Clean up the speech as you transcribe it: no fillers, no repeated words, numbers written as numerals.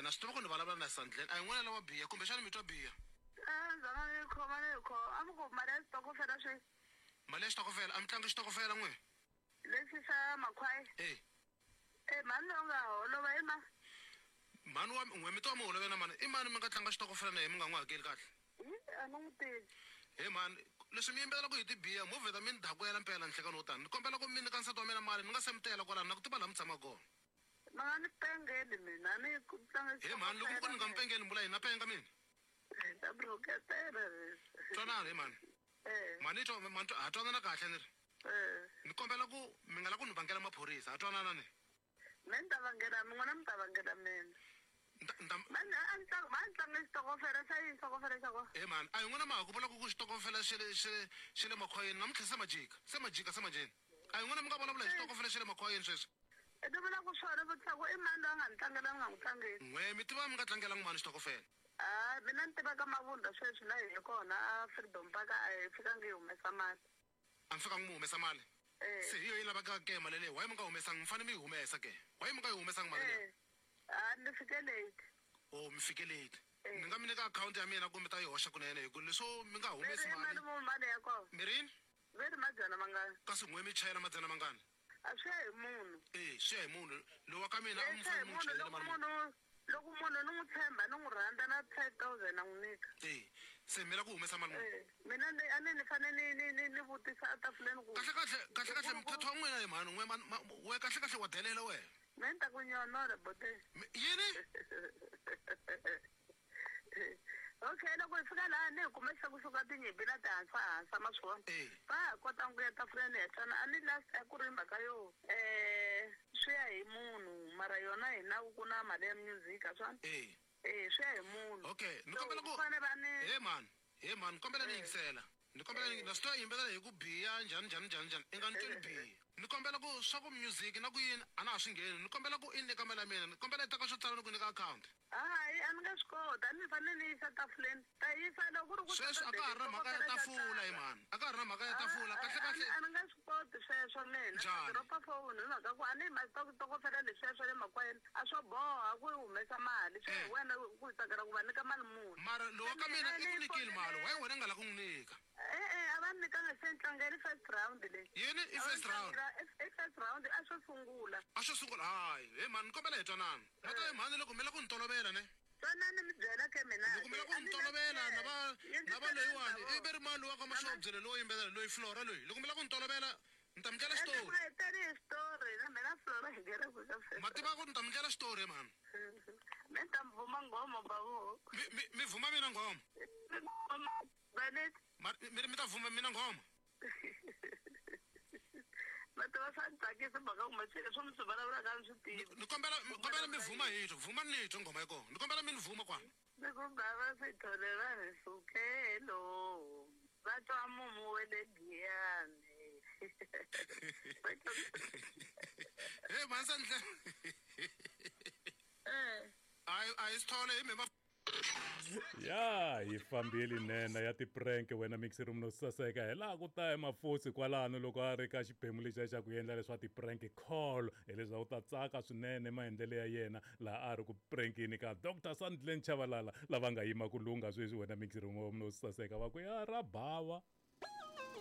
Na swi tiva ku ni vulavula na Sandlen. A hi n'wina lava biya kumbexana mi twa biya. A ndzhaka ni yi khoma ni yi khoma. A mi ku mali ya xitokofela swi. Mali ya xitokofela a mi tlangi xitokofela n'we? Lexi xa makhwaya? E. E mhani loyi u nga holova i mani? Mhani wa n'we mi twa mi holove na mani? I mani mi nga tlanga xitokofela na yena mi nga n'wi hakeli kahle? Hi a ni n'wi tivi. He mhani, leswi mi yimbelelaka hi tibiya mo vheta mi ni dakwela mpela nhlekani wo tani. Ni kombela ku mi nyika nsati wa mina mali ni nga se mi tela kwalano na ku tiva laha mi tshamaka kona. Mi nga ni pengeli mina a ni tlanga He mhani, loko mi ku ni nga mi pengeli mi vula yini? Na penga mina? Ta mi rhuketela leswi. Twanani he mhani. Eh. Mhani twa mhani twa ha twanana kahle ni ri. Eh. Ni kombela ku mi nga la ku ni vangela maphorisa ha twanana ni. Me ni ta vangela n'wina mi ta vangela mina. Nta nta Mani a ni tlanga ma ni tlanga xitokofela xa yini xitokofela xa kona? He mhani a hi n'wina ma ha ku vula ku ku xitokofela xe le xe le xe le makhwayeni namuntlha se ma jika se ma jika se manjheni. A hi n'wina mi nga vulavula hi xitokofela xe le makhwayeni sweswi. I ti vula ku swona vutisa ku i mani loyi a nga ni tlangela ni nga n'wi tlangeli. N'we mi tiva mi nga tlangelangi mani xitokofela. Ha mina ni tiva ka Mavunda sweswi la hi ye kona a Freedom Park a hi fikangi hi humesa mali. A mi fikangi mi humesa mali? Eh. Se hi yo yi lavekaka ke mali leyi why mi nga humesangi mi fane mi yi humesa ke why mi nga yi humesangi mali leyi? Eh. Ha ni fike late. Oh mi fike late. Eh. Ni nga mi nyika akhawunti ya mina ku mi ta yi hoxa kunene hi ku leswo mi nga Mi ri humesi i mali. mali muni mali ya kona? Mi ri yini? Ve ri madzana mangani? Kasi n'we mi chayela madzana mangani? A swi ya hi munhu. E swi ya hi munhu. Loyi wa ka mina a E mi swi ya fanele hi mi n'wi munhu chayele loko mali muni? munhu loko munhu ni n'wi tshemba ni n'wi rhandza na 5000 na n'wi nyika. E se mi lava ku humesa mali muni? E mina ni a ni ni fane ni ni ni ni vutisa etafuleni ku Kahle kahle kahle kahle ku ku mthetho wa n'wina hi mhani n'we ma ma we kahle kahle wa delela wena. Me ni ta ku nyonola bote. Yini? Okay loko hi fika laha ni hi kume se kusuka tinyimpi na tihansa hansa ma swi vona. E. Va ha kotanga ku ya tafuleni hi twana a ni last a ku ri mhaka yo um swi ya hi munhu mara yona hi nawu ku na mali ya music a swona. E. E swi ya hi munhu. Okay ni So kombela ku fane va ni he mhani he mhani ni kombela ni Eh. yingisela. Ni kombela ni Eh. na swi tiva yimbelela hi ku biya njhani njhani njhani njhani i nga ni tweli biya. Ni kombela ku swa ku music na ku yini a na ha swi ngheni ni kombela ku i nyika mali ya mina ni kombela i teka xo tsala ni ku nyika akhawunti. Hayi a ni nge swi koti a ni fanele ni yisa tafuleni ta yisa loko ku ri ku Sweswi a ka ha ri na mhaka ya tafula he mhani a ka ha ri na mhaka ya tafula kahle kahle. A ni nge swi koti sweswo mina Njhani? dropa phone hi mhaka ku a ni ma xitokofela leswiya swa le makwayeni a swo boha ku yi humesa mali swi hi Eh. wena ku tsakela ku va nyika mali muni. Mara loyi wa Se ka mina mina i ku ni nyikile mali fonele why wena i nga la ku n'wi nyika? E-e a va ni nyikanga se ni tlangele first round leyi. Yini i A va first ni round? tlangela i first round a xo sungula. A xo sungula hayi he mhani ni kombela hi twanana. Ma ta he mhani loko mi la ku ni tolovela ne. Twanani mi byela ke mina Loko mi ke la ku a ni ni na tolovela na va na va yingiselani loyiwani i ndhavuko. ve ri mani loyi wa ka Na ma Mashobye loyi wo yimbelela loyi Flora loyi loko mi la ku ni tolovela ni ta mi ndlela Ende xitori. ma hi tele hi xitori na mina Flora hi nge le ku ka Ma tiva ku ni ta mi ndlela xitori he mhani. Me ni ta mi vuma nghoma babu. Mi mi mi vuma mina nghoma. Vaneti. Ma mi ri mi ta vuma mina nghoma. Ma tiva swa ni tsakisa mhaka ku machele leswi mi swi vulavulaka a ni swi tivi. Ni kombela ni kombela mi vuma hi twa vuma ni twa nghoma ya kona ni kombela mi ni vuma kwala. Ni ku bava Sithole va ri sukelo va twa mumu wa le Giyani. He mhani Sandle. Eh. A hi a hi Sithole hi me Ya hi fambile nene ya ti-prank wena mixer munhu saseka hi laha ku ta emafosi kwalano loko a ri ka xiphemu lexiya xa ku endla leswa ti-prank call hileswaku ta tsaka swinene maendlelo ya yena laha a ri ku prankini ka Dr Sandlen Chabalala lava nga yima ku lungha sweswi wena mixer munhu saseka va ku ya ra bava.